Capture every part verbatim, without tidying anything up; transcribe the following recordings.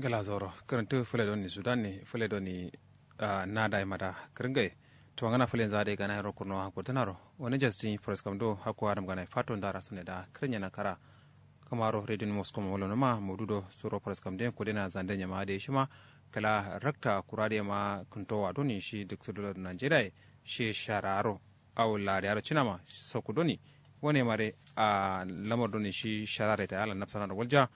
Kǝla zauro kǝrǝntǝ fǝle doni sudan ne fǝle doni. Nada ye mada kǝrǝngai. Tuma ngana fǝle nza dai gana yero kurno hakko tǝnaro. Wani jastin faraskam do hakko adam gana ye fato nda rasu ne da kǝrǝnya na kara. Kǝmaro redin mosko ma wolo numa maudu do suro faraskam den kudena zande nyama dai shima. Kǝla rakta kura dai ma kǝntowa doni shi duk sudo najeriya ye. Shi shararo. Awo lariya do cinama sokku doni. Wane mare a lamar doni shi sharare ta yala nafsana do walja.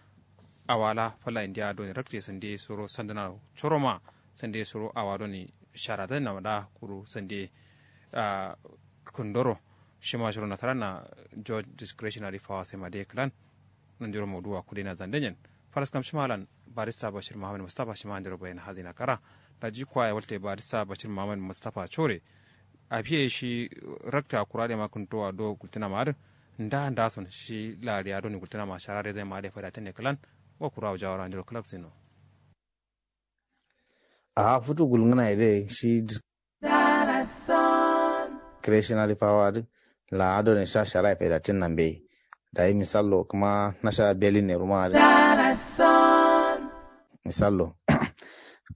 Awala falla indiya doni rakte sande suro sandana coroma. Sande suro awa doni shara dani nama da kuru sande. Kundoro shima shiro nasara na. George discretionary power sai ma dai clan. Nandiro mauduwa kudena zande nyen. Faraskam shima lan barista bashir muhammad mustafa shima nandiro bayana hazina kara. Daji kwaya walte barista bashir muhammad mustafa core. Afiye shi rakta kura de ma kǝntowa do gultǝna ma adǝ. Nda nda son shi lariya doni gultǝna ma shara de zai ma de fada tane kǝlan. Wa kura wa jawara ndiro kǝlak sino. Aha futu gulngǝna ye de shi. Creationary power adǝ. La adone sha shara ye fada tǝnna mbeyi. Dayi misallo kǝma nasha belin ne ruma adǝ. Misallo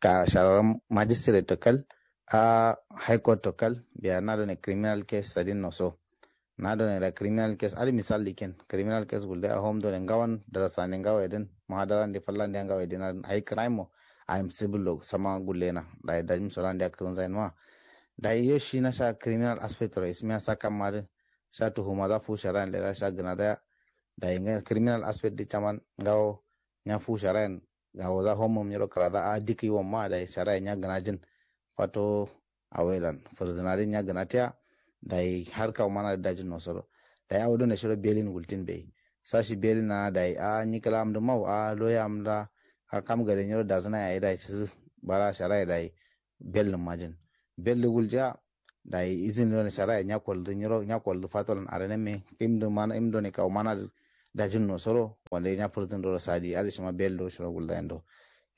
ka shara magistrate to kal. A high court to kal. Biya nadone criminal case sadin no so. Nadone da criminal case adǝ misal diken criminal case gulde a home done ngawan darasane ngawa ye dǝn. Muhadaran de fallan de ngawa ye dǝn adǝ ayi crime mo. Ayim civil lo sama gullena. Dayi dajim solan de a kǝrǝnzayin ma. Dayi yo shi nasha criminal aspect ro ismiya sa kamma adǝ. Sha tuhuma za fu shara yen leza sha gǝna zaya. Dayi ngai criminal aspect dǝ caman ngawo. Nya fu shara yen. Awo za home mum nyiro kǝra za a dikǝ yi wamma dayi shara yen nya gǝna jin. Fato. Awo ye lan fǝrzǝna dǝ nya gǝna tiya. Dayi har kawu mana dǝ dajin no soro. Dayi awo done shiro belin gultin beyi. Sa shi belin na dayi a nyi kǝla am dǝ mau a loya am da. A kam gade nyiro dazǝna yayi dayi cizǝ. Bara shara ye dayi. Bel nǝm majin. Bel dǝ guljiya. Dayi izin done shara ye nya kolzǝ nyiro nya kolzǝ fato lan arene me. Im dǝ mana im done kawu mana dǝ. Dajin no soro wande nya fǝrzǝn doro sadi adǝ shima bel do shiro gulzayin do.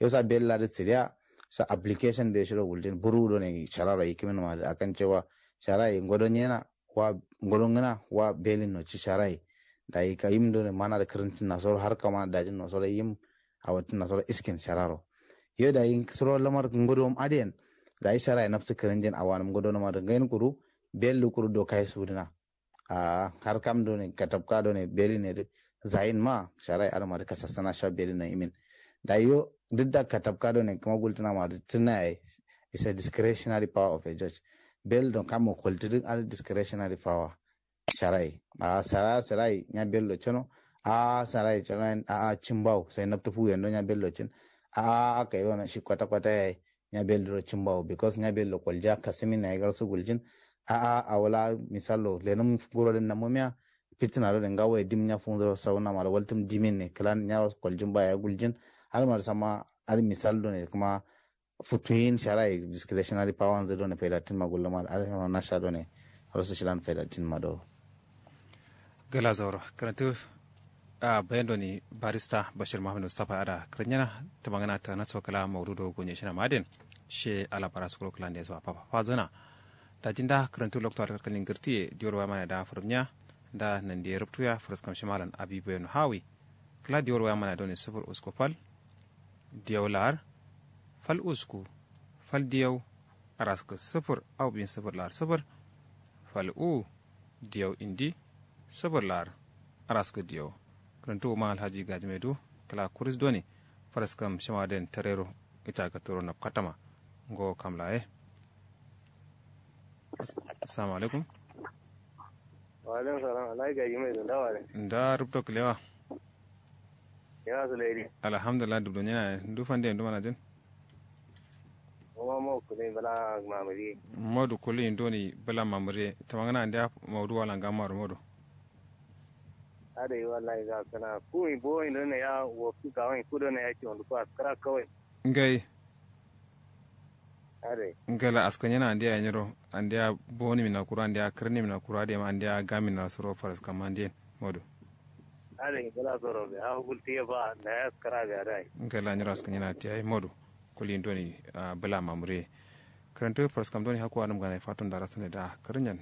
Yo sa bel la dǝ siriya. Sa application be shiro guljin buru done shararo yikimin ma dǝ akan cewa. Shara ye ngodo nyena. Wa ngodo ngǝna wa belin no ci shara ye. Dayi ka yim done mana dǝ kǝrǝntin na soro har kama dajin no soro yim. Awo tǝnna soro iskin shararo. Yo dayi suro lamar ngodo adǝ yen. Dayi shara ye nafsu kǝrǝnjin awanǝm ngodo nǝma dǝ ngayin kuru. Bel dǝ kuru do kayi sudǝna. Ahh har kam done katabka done belin ye dǝ. Zayin ma shara ye adǝ ma dǝ kasassana sha belin no imin. Dayi yo duk da katabka done kǝma gultǝna ma dǝ tǝna yayi. Is a discretionary power of a judge. Bel do kammo koltǝ dǝ adǝ discretionary power. Shara ye ahh sara sara ye nya bel do cǝno. Ahh sara ye cǝno yen ahh cimbawo sai nabtǝ fu yen do nya bel do cǝn. Ahh aka yi wano shi kwata kwata yayi. Nya bel duro cimbawo because nya bel do koljiya kasǝmin yayi garsu guljin. Ahh awo la misallo lenǝm nguro dǝn nammumiya. Fitina done ngawo ye dim nya funzuro sauna ma do waltǝm dimin ne kǝlan nya koljin ba yayi guljin. Adǝ ma dǝ samma adǝ misal done kǝma. Futuyin shara ye discretionary power nzǝ done faidatin ma gulluma adǝ shima nasha done. Har su shilan faidatin ma do. Gala zauro kǝrantǝ. Ahh bayan doni barista bashir muhammad mustafa ye ada kǝrǝnyena. Tǝmangǝna tǝgǝna so kǝla maudu do gonye shina ma adǝ yen. She ala bara sukuro kǝla nde so apapa fazǝna. Daji nda kǝrantǝ loktu ada kalkalin gǝrtǝ ye diwor waya mana ye da fǝrǝmnya. Nda nandi ye rubtuya fǝrǝskam shimalan abi boyeno hawi. Kǝla diwor waya mana ye doni sufur usku fal. Diyau laar. Fal usku. Fal diyau. Araskǝ sǝfǝr au bin sǝfǝr laar sǝfǝr. Fal u. Diyau indi. Sǝfǝr laar. Araskǝ diyau. Kǝrǝntǝ wuma alhaji gajime du. Kǝla kuris done. Faraskam shima den tarero. Ita gattoro nabkatama. Ngo kam laye. Assalamu alaikum. Wa'alaikum salam alhaji gajime du ndawa de. Nda rubto kǝlewa. Yawa sulaidi. Alhamdulillah dubdo nyena ndu fande ndu manajin. Kuma mo kuli bala mamuri. Modu kuli ndoni bala mamuri tamangana ndia maudu wala ngamaro modu. Adai wallahi ga kana ku mi bo indo ne ya wo ku ga wani ku do ne ya ki wondu ko askara kawai. Ngai. Adai. Ngala askanyana andiya nyiro andiya boni mina kura andiya kirni mina kura adai ma andiya gamina suro faras kama andiya modu. Adai ngala soro be ha gultiye ba da ya askara be adai. Ngala nyiro askanyana tiya modu. Kuli ndoni bula mamure. Kǝrantǝ faraskam doni hakku adǝm gana ye fato ndara sune da kǝrǝnyan.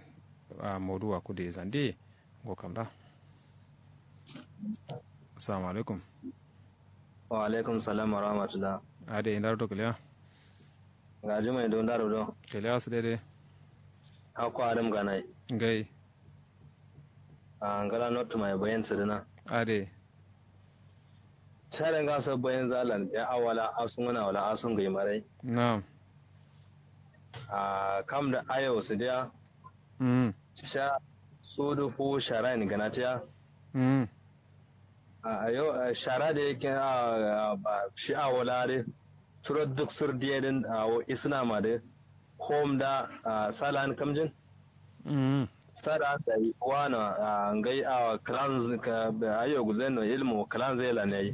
Maudu wa kude zande. Ngo kam da. Assalamu alaikum. Wa'alaikum salam warahmatullah. Adǝ ye ndaro do kǝlewa? Ngajimai do ndaro do? Kǝlewa sǝ dai dai. Hakko adǝm ganai. Ngai. Ahh ngla nottu mai bayin sǝdǝna. Adǝ ye. Share ngaso bayin zalan biya awala asu ngǝna wala asu ngai marai. Na'am. Ahh kam dǝ ayo sǝdiya. Sha sudu fu sharayin gǝnatiya. Ahh yo shara dǝ ye ahh shi awo la dǝ. Suro duk sǝr diye dǝn awo isǝna ma dǝ. Hom da ahh salan kamjin. Salan dayi wano ahh ngai ahh kǝlanzǝ. Ayo gulzain no ilmu kǝlanzǝ ye lan yayi.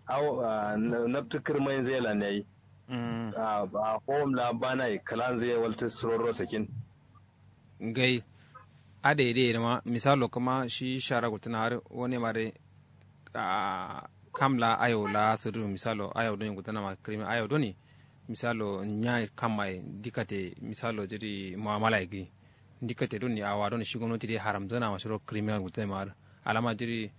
Awo ahh nabtǝ kǝrmainzǝ ye lan yayi. Ahh hom la banayi kǝlanzǝ ye waltǝ suro ro sakin. Ngai. Adai dai dǝma misalo kǝma shi shara gultǝna har wane ma dai. Ahh kam la ayo la sǝdǝ misalo ayo done gultǝna ma kǝrmi ayo done. Misalo nya kam ma ye ndikate misalo jiri mu'amala ye gǝyi. Ndikate done awa done shi gomnati dai haramzǝna ma shiro kǝrmi gultǝna ma har alama jiri.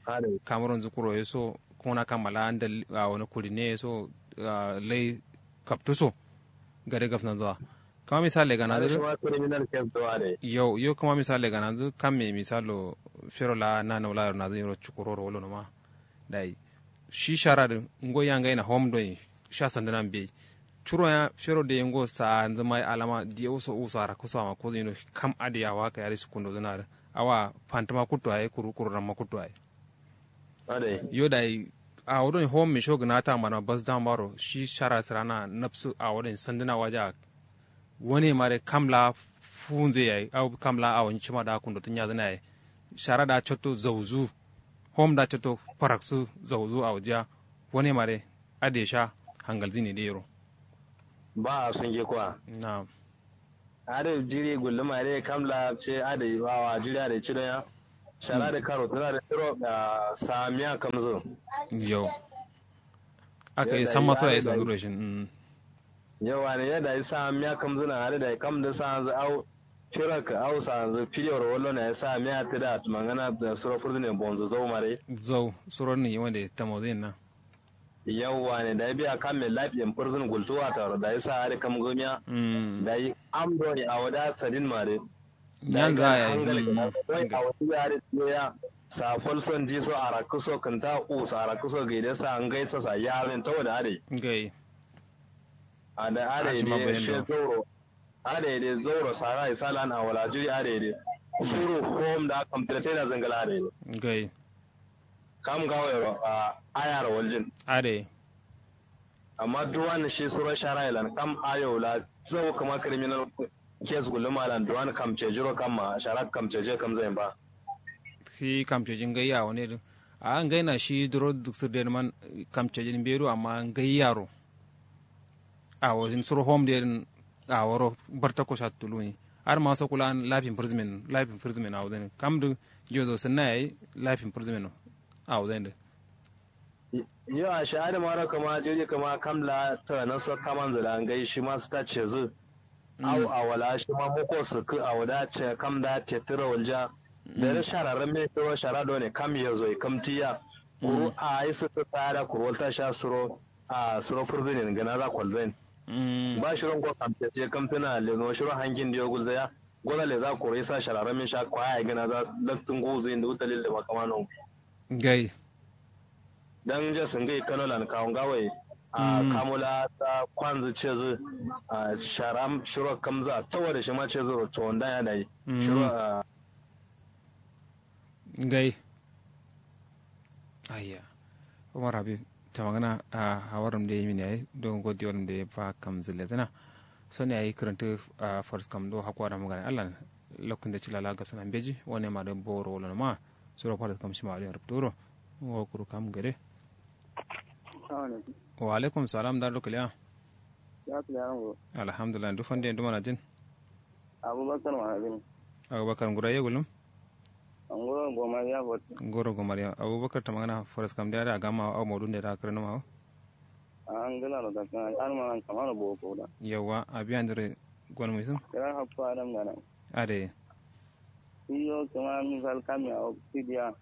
Kamuronzǝ kuro ye so kuna kam ma la ndal awo na kudine ye so. Lai kaptǝ so gade gabsǝnanzǝ wa. Kǝma misal legananzǝ dǝ. Yo yo kǝma misal legananzǝ kamme misalo fero la nana wula yero nazǝ yero cukuroro wolo noma. Dai shi shara dǝ ngo ya ngaina hom doi sha sandǝna mbeyi. Curo ya fero dai ngo saanzǝ mai alama diye uso uso arakkǝ so amma kozǝ yino kam adǝ ye awa kǝya dǝ sukundozǝna dǝ. Awa fantǝma kuttu yayi kuru kuru ramma kuttu yayi. Yo dayi awo done hom misho gǝnata mano bas dam baro shi shara sǝrana nabsǝ awo done sandǝna waja. Wane ma dai kam la funzǝ yayi au kam la awo nyi cima da kundo tǝ nyazǝna yayi. Shara da cotto zauzu. Hom da cotto faraksǝ zauzu awo jiya. Wane ma dai adǝ ye sha hangalzǝ ne dai yero. Ba asunge kwa. Na'am. Adǝ jiri gulluma dǝ ye kam la ce adǝ ye wawa jiri adǝ ye cido ya. Shara dǝ karo tǝna dǝ tǝro ahh samiya kamzǝ. Yo. Aka ye samma so yayi sanduro ye shin. Yo wane yo dayi samiya kamzǝ na adǝ dayi kam dǝ sanzǝ au. Firak au sanzǝ fidiyoro wallo na ye samiya tǝda tǝmangana suro fǝrzǝne bonzǝ zau ma dǝ ye. Zau suro ni wande tamozǝ yen na. Yauwa ne dayi biya kamme lafiyen fǝrzǝn gultu wataro dayi sa adǝ kam gǝmiya. Dayi am done awo da sadin ma dǝ. Dayi nyanza gana yayi hangal gǝna doi awo dǝ ya dǝ tiye ya. Sa falso ndiso arakkǝ so kǝnta uso arakkǝ so gaide sa ngai so sa yarin tawo da adǝ. Ngai. Ada adǝ ye dǝ she zauro. Adǝ ye dǝ zauro sara ye salan awo la jiri adǝ ye dǝ. Suru hom da kamtǝ da taida zǝngǝla adǝ ye dǝ. Ngai. Kam ngawo yero ahh ayaro waljin. Adai. Amma duwan shi suro shara ye lan kam ayo la zau kǝma criminal case gulluma lan duwan kamcejiro kamma shara kamcejiye kamzain ba. Shi kamceji ngai awo ne dǝ. Ahh ngai na shi duro duk sǝr de dǝ man kamcejin mbeyi do amma ngai yaro. Awo suro hom den aworo bartakko sha tuluni. Adǝ ma so kulan life imprisonment life imprisonment awodǝn kam dǝ. Jozo sǝnna yayi life imprisonment awodǝn dǝ. Yo ashe adǝ maro kǝma jiri kǝma kam la tana so kamanzǝ la ngai shima sǝta cezǝ. Au awo la shima muko sǝkkǝ awo da ce kam da tettǝro walja. Dare shara ramme shiro shara done kam yezo ye kamtiya. Kuru ayi sǝkkǝ sada kuru walta sha suro. Ahh suro fǝrzǝnin gǝnaza kolzain. Ba shiro ngo kamcece kamtǝna lezǝno shiro hankin diyo gulzaya. Goza leza koro isa shara ramin sha kwaya yayi gǝnaza. Laktǝ nguzǝ yin dǝ wu dalil dǝ ma kǝma no. Ngai. Dan nja sǝngǝ ye kano lan kawo ngawo ye. Ahh kamu la ta kwanzǝ cezǝ. Ahh shara shiro kamza tawo dǝ shima cezǝ ro cowondan ya dayi. Shiro ahh. Ngai. Ayya. Umar habib tamangǝna. Ahh hawarǝm de yimin yayi do ngo diwolǝm de ba kamzǝ lezǝna. Sone yayi kǝrǝntǝ. Ahh faraskam do hakko adǝ mugane allan. Loktu nde cilla la gabsǝna mbeji wane ma dǝ boro wolo nǝma. Suro faraskam shima adǝ yen rubtu wuro. Ngo kuru kam gade. Wa alaikum salam ndar do kǝliya. Alhamdulillah ndu fande ndu manajin. Abubakar manajin. Abubakar ngura ye gulum. Nguro gomariya bot. Nguro gomariya abubakar tamangana faraskam de ada agama au modun de da kare numa. Ahh ngla no dakkan alma nan kamano boko da. Yauwa abi andire. Gon muisum. Kira happa adam gana. Ade. Iyo kama misal kami au fidiya.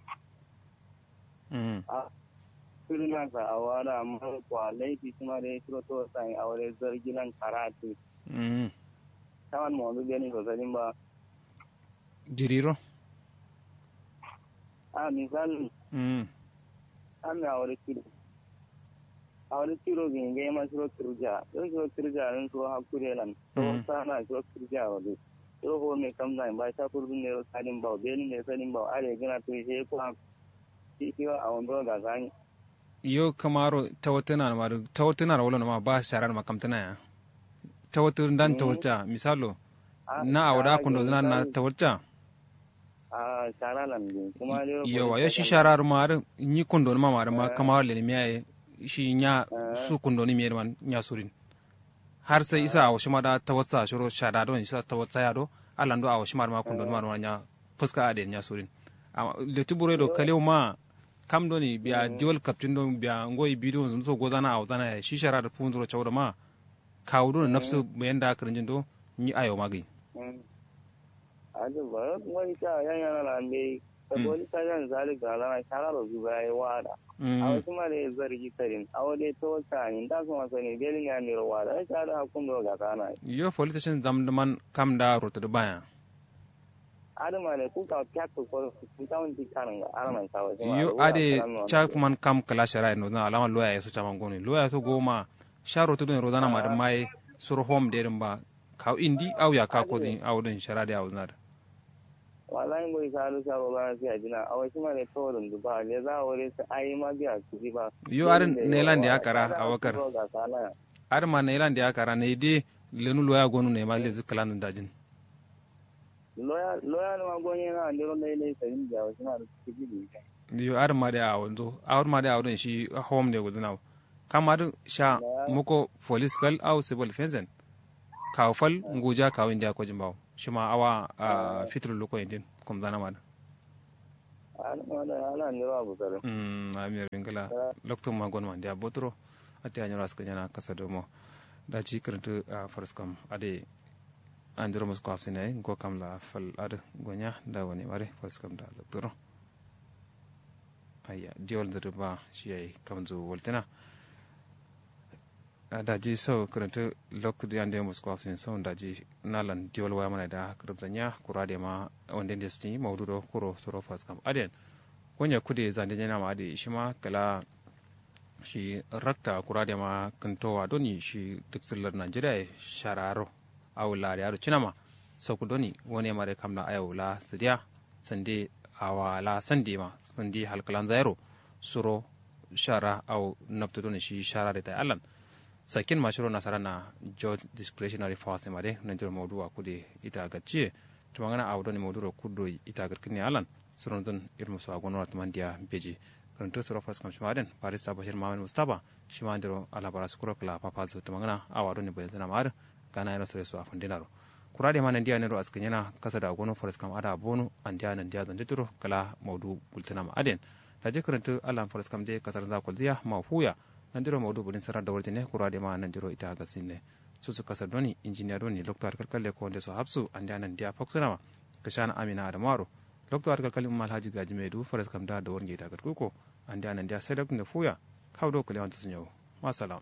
Ahh. Sǝrǝna sa awo adǝ amma kwa laifi shima dai shiro tawatsa ye awo dai zargi lan kara attǝ. Tawan mondu benin so sadin ba. Jiriro. A misal. Amme awo dai ciro. Awo dai ciro gǝyi ngai ma shiro kǝrja don shiro kǝrja don shiro hakku dai lan. Tawatsa na shiro kǝrja ro dai. Shiro home kamza ye ba sha furdun ne ro sadin bawo benin ne sadin bawo adǝ ye gǝna tǝ ye she kwa. Shi shi wa awo nduro gasa nyi. Yo kǝmaro tawatǝna nǝma dǝ tawatǝna ro wolo nǝma ba shara nǝma kamtǝna ya. Tawatǝ ndan tawatǝ ya misalo. Na awo da kundo zǝna na tawatǝ ya. Yo wa yo shi shara dǝ ma dǝ nyi kundo nǝma ma dǝ ma kǝmaro lenǝmiya ye. Shi nya su kundo nǝmiya ye dǝ ma nya surin. Har sai isa awo shima da tawatsa shiro shada don isa tawatsa ya do. Alando awo shima dǝ ma kundo nǝma dǝ ma nya fǝska adǝ yen nya surin. Amma letǝ buro ye do kalewu ma. Kam doni biya diwal kaptin do biya ngoyi bidiyo nzundu so gozana awozana yayi shi shara dǝ fuwun duro cau do ma. Kawu doni nafsu bayan da kǝrinjin do. Nyi ayo ma gǝyi. Adǝ ba ngoyi ca yan yana lan dai. Saboli ta yan zali gazana shara ro zuba yayi wada. Awo shima dai zargi sarin awo dai tawatsa ni nda so ma sarin belin ya niro wada shara dǝ hakkun do gazana. Yo politishin zam dǝ man kam da rotu dǝ baya. Adǝ mane ku kawo fiyakkǝ koro ku tawun ti kanǝnga. Yo adǝ ye ca kǝman kam kǝla shara ye nozǝna alama loya ye so caman gonu ye loya ye so goma. Sha rotu dǝn rozana ma dǝn ma ye. Suro hom de dǝn ba kawu indi au yakka kodǝn awo dǝn shara de awozǝna dǝ. Wallahi ngoyi sa adǝ sha rozana sai adǝna awo shima de kawo dǝn dǝ ba leza awo de sai ayi ma biya kǝji ba. Yo adǝ nailan de yakka ra abakar. Adǝ ma nailan de yakka ra nai de. Lenu loya gonu nai ma lezǝ kǝlan dǝn dajin. Loya loya nǝma gonye na andero lai lai sarin biya wasu na da suke ji da ita. Yo adǝ ma dai awo nzo adǝ ma dai awo don shi home ne gulzǝna wo. Kam adǝ sha muko police fal au civil fencen. Kawu fal nguja kawu indiya kojin bawo shima awa. Fitur luko indin kumzana ma dǝ. Adǝ ma dai ala andero abu sare. Amir bingila loktu ma gonma ndiya boturo. Ati anyiro askǝ nyana kasa domo. Daji kǝrǝntǝ. Faraskam adǝ ye. Andiro musko hafsǝne yayi ngo kam la fal adǝ gonya nda wane mare faraskam da zakturo. Ayya diwal nzǝ dǝ ba shi yayi kamzǝ waltǝna. Daji sau kǝrǝntǝ loktu dǝ yande musko hafsǝne sau daji nalan diwal waya mana da kǝrǝm zanya kura de ma wande nde sǝtǝnyi maudu do kuro suro faraskam adǝ yen. Gonya kude zande nyana ma adǝ ye shima kǝla. Shi rakta kura de ma kǝntowa doni shi duk sǝllar najeriya ye shararo. Awo lariya do cinama. Sokku doni wane mare kam la ayawo la sǝdiya. Sande awa la sande ma sande halkǝlanza yero. Suro shara awo nabtu doni shi shara de tai allan. Sakkin ma shiro nasara na judge discretionary force ma de nandiro maudu wa kude ita gacciye. Tumangana awo doni maudu ro kuddo ita gatkǝnne allan. Suronzun irmu so agono wa tǝmandiya mbeji. Kǝrǝntǝ suro faskam shima adǝn barista bashir muhammad mustapha. Shima andiro alabara sukuro kǝla fafalzǝ tǝmangǝna awa done bayanzǝna ma adǝ. Gana yero sore so afandinaro. Kura dema nandiya nero askǝnyena kasa da gono faraskam ada bono andiya nandiya zanditǝro kǝla maudu gultǝnama adǝyen. Daji kǝrǝntǝ allan faraskam de kasaranza kolziya ma fuya. Nandiro maudu bulin sarar da warjine kura dema nandiro ita gasinne. Susu kasar doni injiniya doni lokto adǝ kalkalle ko nde so hafsu andiya nandiya faksǝnama. Kǝshana amina adamaro. Loktu adǝ kalkalin umma alhaji gaji mai du faraskam da dawar nge ita gatkuko. Andiya nandiya sai loktu nde fuya. Kawu do kǝlewan tusu nyawu. Masalam.